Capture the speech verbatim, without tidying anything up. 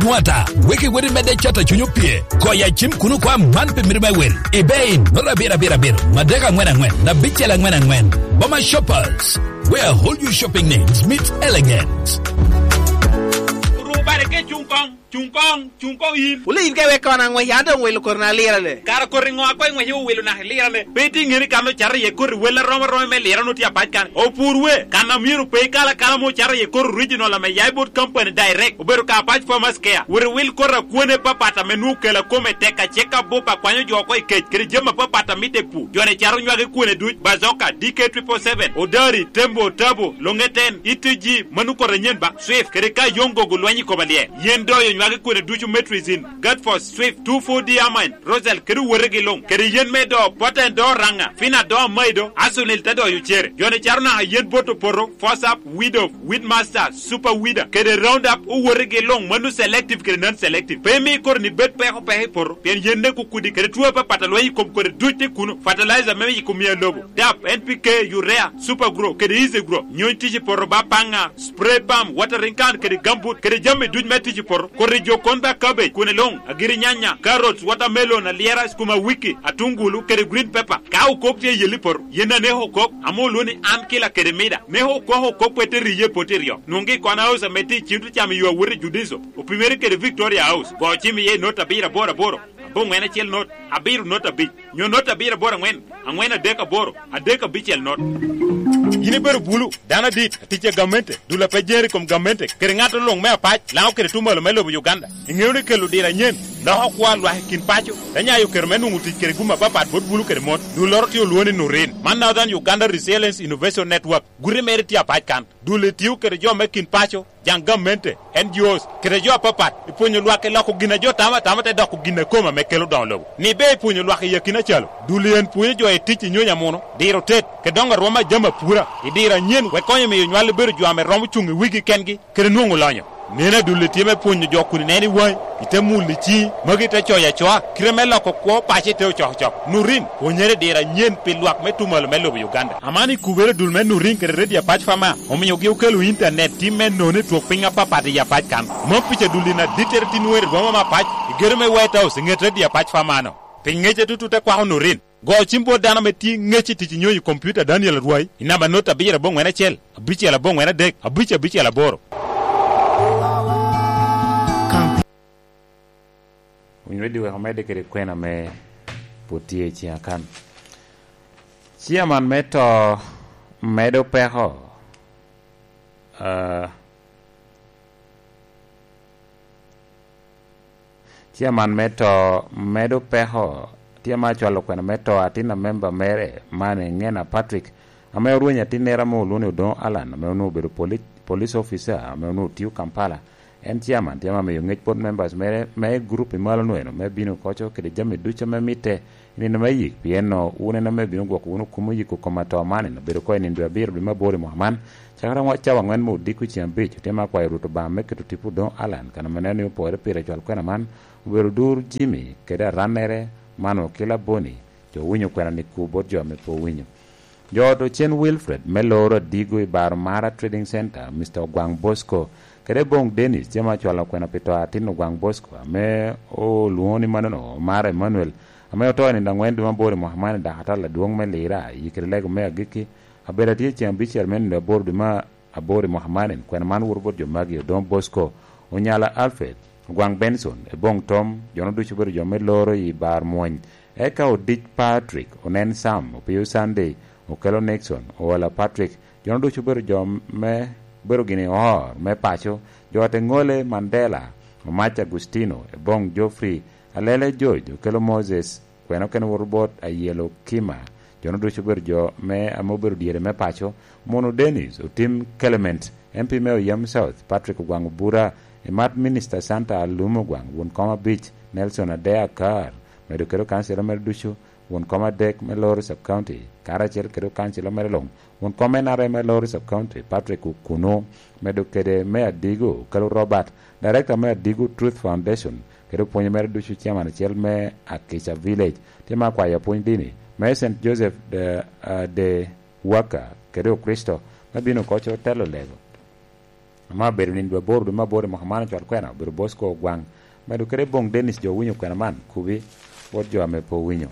Nwata, wek iwot imedde cato cuny opye. Goyo acim kun okwa man pi miti me wil. Ebay, noto abiro abiro abiro, madek angwen angwen, abicel angwen angwen. Boma Shoppers, where all your shopping needs meet elegance. Rubare ke cuŋ koŋ, cuŋ koŋ, cuŋ koŋ yin. Wule yin ka iwek kono aŋwec, an doŋ wilo koti na lirane. Kara koti ŋo a koŋ iŋwec iwilo naka ilirane? Pe itye ŋeni kan ocato iye koti wel arom arom me lirane otye apac kan. Opur we, kan a myero pe ikal akala mo ocato iye koti original ame ya i bot company direct. Obedo ka apac Farmers Care. Wot iwil koti akwene papat ame nwoŋo kela kome tek acek abup akwanyo jo oko i kec, kede jami apapat a mitte i pur. Jo-ni cato nywagi kwene duc, Bazoka, D K triple seven, Odari, Tembo, Tabo, Longeten, E T G, mano koti anyen ba, Swift, kede ka yoŋ gogo lweny i koma lye. Yen doyo nywagi kwene ducu Metrizin, Gatfos, Swift, two four D Amine, Rosal, kede owotegi luŋ, kede yen me do, Poten do Raŋa, Fina do Amaido, Asunil te doyo cere. Jo-ni cato naka yen bot opoto, Fosap, Widow, Weedmaster, Super Weeder, kede Roundup, owotegi luŋ, mano selective kede non-selective. Pe imi koti-ni bed peko peko i poto, pien yen nek okudi, kede two apapat a lweny i kom koti duc tye kuno. Fertilizer me yiko mia lobo, dap, N P K, urea, Super Grow, kede Easy Grow. Nyony tic i poto ba paŋa, spray pump, watering can, kede gambut, kede jami duc me tic i poto. Koti jo kon ba cabbage, kwene luŋ, agiri nyanya, carrots, watermelon, alyera, skuma wiki, atungulu, kede green pepper. Ka okok tye i yelli poto, yen aneko okok, ame olwoŋo ni an kila kede mida. Neko okok okok pe te riye poto iryo. Nwoŋgi i kona house ame tye i cim te camo yo awot i Judiso. Opimere kede Victoria House. Go cim iye i not abiro aboro aboro, aboŋwen acel not, abiro not abic, nyo not abiro aboro aŋwen, aŋwen adek aboro, adek abicel not. Yin ibedo bulu, dano adit, atic a gamente, dul a pe jeri i kom gamente, kede ŋat luŋ me apac, Laŋo kede tumalo me lobo Uganda. Iŋeo ni kelo diro anyen loko kwo a lwak i kin paco, te nyayo kero me nwoŋo tic kede gum apapat bot bulu kede mon. Dulloro tye olwoŋo ni Nurin. Man Northern Uganda Resilience Innovation Network. Guti mere tye apac kan. Dul etio kede jo me kin paco, jaŋ gamente, N G Os, kede jo apapat, i pwonyo lwak i loko gin a jo tamo atama te doko gin a kome ame kelo doŋo lobo. Ni be i pwonyo lwak i akina calo, dul en pwonyo jo i tic i nyony amuno, diro tet, kede doŋo arwom a jami apura, i diro anyen, wek konyo miyo nywal bedo jo ame romo cuŋ i wigi kengi, kede nwoŋo lonyo. Neno adulli tye me pwonyo jo kun ineno i waŋi, ite mulo i ciŋi, magi te coyo acoa, kite me loko kwo paco ite ocokocok. Nurin, pwonyere i diro anyen pi lwak me tumalo me lobo Uganda. Aman i kubere dul me Nurin kede Redio Apac Fama, omiogi okelo intanet tim me nono i twok piny apapat i Apac kan. Mom pica dulli na dittere tin wer i boma me Apac, i gedo me White House, i ŋet Redio Apac Fama-no. Pi ŋece tutu te kwako Nurin. Go cim bot dano ame tye ŋec i tic i nyonyo i kompiuta Daniel Arwai i namba not abiro aboŋwen acel, abicel aboŋwen adek, abic abicel aboro. Winy Radio wek omedde kede kwena ame pwod tye i ciŋa kan. Ciaman me to medo peko, ah, Ciaman me to medo peko. Tye ma acwalo kwena me to atin a memba mere, man Ngena Patrick, ame orwenyo atinnere ame olwoŋo ni Odoŋo Alan, ame onwoŋo obedo poli-, police officer, ame onwoŋo tio Kampala. En ciaman tye ma miyo ŋec bot members mere me gurup i malo nweno me bino koco kede jami ducu ame mitte. I nino me yik, pien wun en ame bino gwoko wunu kum oyiko kom atoo man, obedo oko i nino dwe abiro dwe me aboro i mwaka man, cakere aŋwa-, cawa aŋwen me odiko ceŋ abic. Otye ma akwayo Rwot Obaŋa me keto tipo Odoŋo Alan, kan ame neno ni opore pire cwal kwena man, obedo odur Jimmy kede arannere, man okila Boni, jo owinyo kwena ni ku bot jo ame pe owinyo. Jo ot Ocen Wilfred me loro Adigo i bar Mara Trading Center, Mister Ogwaŋ Bosco, kede Boŋ Dennis, tye ma acwalo kwena pi to a atin Ogwaŋ Bosco, ame olwoŋo ni manono Omara Emmanuel, ame oto i nino aŋwen dwe me aboro i mwaka man i dak atal adwoŋ me Lira, i kede lego me agikki, abedo atye ceŋ abicel me nino aboro dwe me aboro i mwaka man. Kwena man woto bot jo magi: Odoŋo Bosco, Onyala Alfred, Ogwaŋ Benson, Eboŋ Tom, jono ducu obedo jo me loro i bar mwony. Eka Odic Patrick, Onen Sam, Opiyo Sunday, Okelo Nixon, Owola Patrick, jono ducu obedo jo me, obedo gini or me paco, jo ot Eŋole Mandela, Omac Agustino, Eboŋ Geoffrey, Alele George, Okelo Moses, kwena okene woto bot Ayelo Kima, jono ducu obedo jo me, ame obedo dyere me paco, Mono Dennis, Otim Clement, M P me Oyem South, Patrick Ogwaŋ Obura, Emat Minister Santa Alum Ogwaŋ, won kom abic, Nelson Adea Akar, medo kede okancila mere ducu, won kom adek me Lori Sub County, karacel kede okancila mere luŋ, won kom N R M me Lori Sub County, Patrick Okuno, medo kede me Adigo, Okelo Robert, Director me Adigo Truth Foundation, kede opwonyo mere ducu, Chairman acel me Akica Village. Tye ma akwayo apwony dini me Saint Joseph de, ah, de Waka kede Okricito me bino koco telo lego. Ame obedo nino dwe aboro dwe me aboro i mwaka man, ocwal kwena obedo Bosco Ogwaŋ, medo kede boŋ Dennis jo owinyo kwena man, Kubi, wot jo ame pe owinyo.